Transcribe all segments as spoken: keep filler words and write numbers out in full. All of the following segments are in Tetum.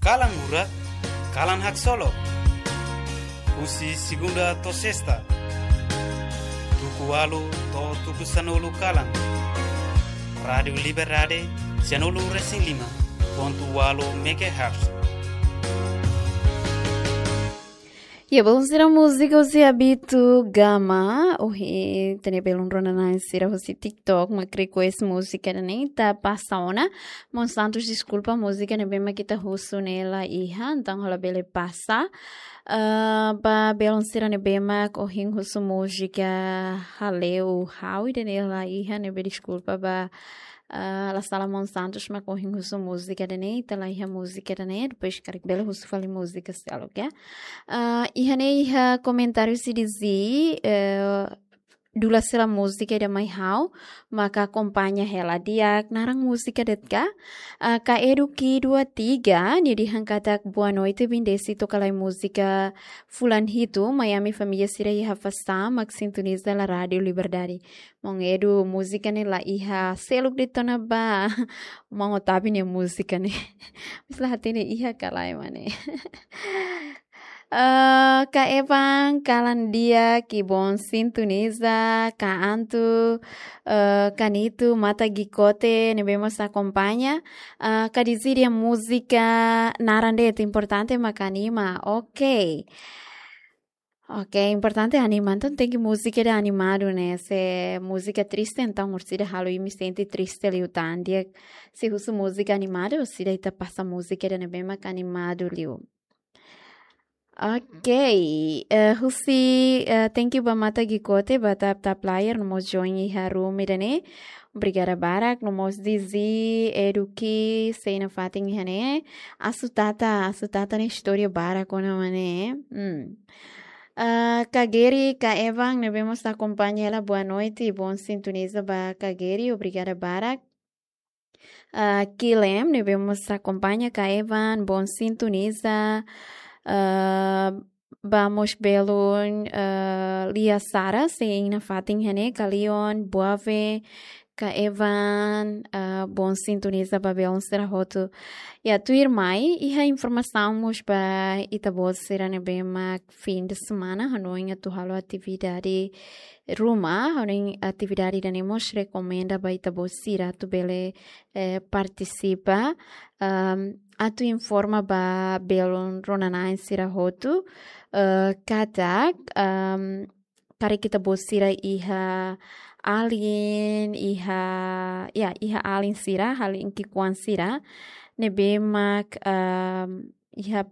Kalan Murak, Kalan Haksolok. Husi segunda to'o sesta, tuku ualu to'o tuku sanulu kalan. Rádiu Liberdade, sanulu resin lima pontu ualu megahertz. Ya, belun sira, múzika husi Abito Gama, ohin ita-nia belun rona-na'in sira husi TikTok mak request múzika ne'e, ita pasa ona. Maun Santos, deskulpa, múzika ne'ebé mak ita husu ne'e la iha, entaun ha'u labele pasa. Ah, ba belun sira ne'ebé mak ohin husu múzika Hale'u Ha'u ida-ne'e la iha, ne'ebé deskulpa ba, ah, la sala, maun Santos mak ohin husu múzika ida-ne'e, ita la iha múzika ida-ne'e, depois karik bele husu fali múzika seluk, ya. Ah, iha ne'e iha komentáriu sira dizee, eh, dula sela múzika ida mai ha'u, maka akompaña hela. Di'ak, naran múzika de'it ka? Ah, Ka Edu Ki dua tiga, nia dehan katak boa noite, bendesi, toka lai múzika fulan hitu, mai ami família sira iha Afasá mak sintoniza la Rádiu Liberdade. Maun Edu, múzika ne'e la iha seluk de'it ona ba maun Otávio nia múzika ne'e. Mas la hatene iha ka lae, mane. Eh, Ka Evan, kalan di'ak, ki'ik, bom sintoniza, Ka Antu, eh, Ka Nitu, Mata Gikote, ne'ebé mós akompaña. Eh, Ka Dizídia, múzika naran de'it, importante mak anima. Ok. Ok, importante anima, entaun tenke múzika ida animadu, ne'e. Se múzika triste, entaun orsida halo imi sente triste liután. Di'ak, se husu múzika animadu, orsida ita pasa múzika ida ne'ebé mak animadu liu. Ok, eh, husi, eh, thank you ba Mata Gikote, ba tap tap layar, no mós join iha room ida-ne'e. Obrigada barak, no mós Dizee, Edu Ki, sei nafatin iha ne'e. Asu Tata, Asu Tata ne'e istória barak ona, mane. Hmm. Ah, Ka Geri, Ka Evan, ne'ebé mós akompaña hela, boa noite, bom sintoniza ba Ka Geri, obrigada barak. Ah, Kilem, ne'ebé mós akompaña, Ka Evan, bom sintoniza. Ah, ba mós belun, ah, Lia Sara, sei nafatin iha ne'e, Ka Leon, Boave, Ka Evan, ah, bom sintoniza ba belun sira hotu. Ya, tuirmai, iha informasaun mós ba ita-boot sira ne'ebé mak fim de semana, hanoin atu halo atividade ruma, hanoin atividade ida-ne'e mós rekomenda ba ita-boot sira atu bele, eh, partisipa, ehm, atu informa ba belun rona-na'in sira hotu, eh, katak, ehm, karik ita-boot sira iha alin, iha, ya, iha alin sira, alin ki'ikoan sira, ne'ebé mak, ehm, iha,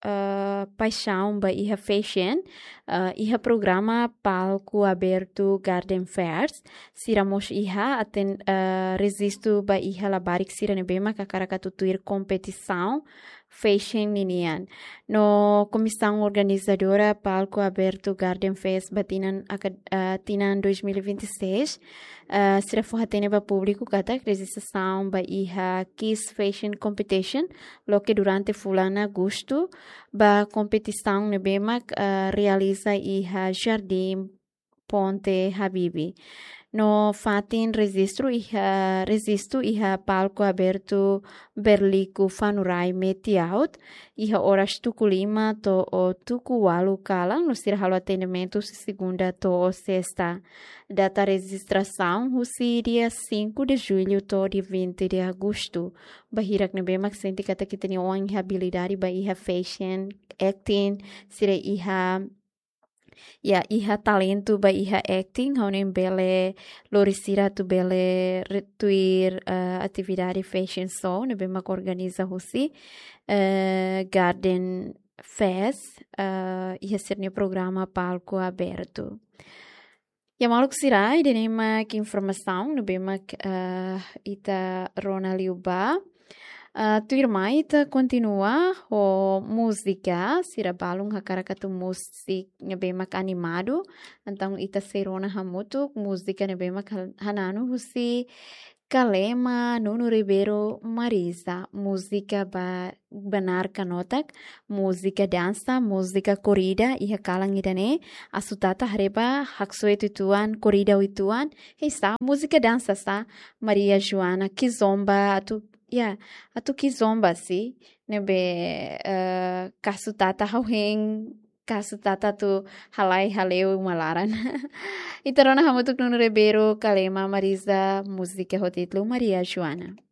eh, paixaun ba iha fashion, eh, iha programa Palco Aberto Garden Fairs, sira mós iha aten, eh, rejistu ba iha labarik sira ne'ebé mak hakarak atu tuir kompetisaun fashion ninian. No komisaun organizadora Palco Aberto Garden Fest ba tinan aka-, eh, tinan dois mil e vinte e seis, eh, sira fó-hatene ba públiku katak rejistrasaun ba iha Kiss Fashion Competition loke durante fulan agostu, ba kompetisaun ne'ebé mak, eh, realiza iha Jardim Ponte Habibie. No fatin rejistu iha, rejistu iha Palco Aberto Berliku Fanurai Metiaut, iha oras tuku lima to'o tuku ualu kalan, no sira halo atendimentu husi segunda to'o sesta. Data rejistrasaun husi dia cinco de julho to'o dia vinte de agosto. Ba hirak ne'ebé mak sente katak ita-nia oan iha abilidade ba iha fashion, acting, sira iha, ya, iha talentu ba iha acting, ha'u hanoin bele lori sira atu bele re-, tuir, eh, atividade fashion show ne'ebé mak organiza husi, eh, Garden Fest, eh, iha sira-nia programa Palco Aberto. Ya, maluk sira, ida-ne'e mak informasaun ne'ebé mak, eh, ita rona liu ba. Eh, tuirmai ita kontinua ho múzika, sira balun hakarak atu múzika ne'ebé mak animadu. Entaun ita sei rona hamutuk múzika ne'ebé mak han-, hananu husi Kalema, Nuno Ribeiro, Marisa, múzika ba, banar kanotak, múzika dansa, múzika korrida, iha kalan ida-ne'e, Asu Tata haree ba haksoit uitoan, korrida uitoan, hei sa, múzika dansa sa, Maria Joana Kizomba, atu Ya, atu ki'ik zomba si, ne'ebé, eh, kasu tata hau hein, kasu tata atu halai hale'u uma laran. Ita rona hamutuk Nuno Ribeiro, Kalema Marisa, múzika ho títulu Maria Joana.